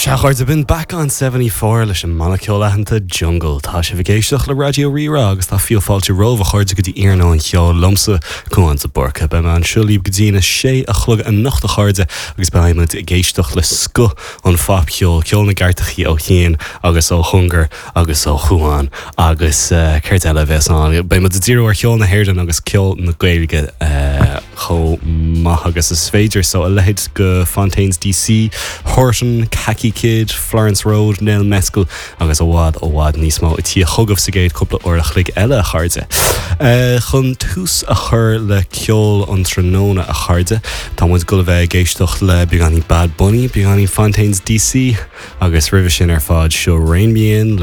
Sea, a chairde, b'in Back on 74 leis an mbanna ceoil aitheanta Jungle. Tá sibh ag éisteacht le Raidió Rí-Rá agus tá fiú fáilte romhaibh, a chairde, go dtí Iarnóin Cheoil liomsa, Cúán de Búrca. Beidh mé anseo libh go dtí na sé a chlog anocht, a chairde, agus beidh muid ag éisteacht le scoth an phopcheoil, ceol na gcairteachaí ó chian agus ó chóngar agus ó Chúán agus céard eile a bheas ann? Beidh muid ag díriú ar cheol na hÉireann agus ceol na Gaeilge. chomh maith agus is féidir. So a leithéid de Fontaines DC, Horton, Khaki Kid, Florence Road, Nell Mescal agus i bhfad i bhfad níos mó ag tíocht chugaibh sa gcéad cúpla uair a chloig eile, a chairde. Chun tús a chur le ceol an tráthnóna, a chairde, tá muid ag dul a bheith ag éisteacht le beagáinín Bad Bunny, beagáinín Fontaines DC agus roimhe sin ar fad seo Rein Me In le.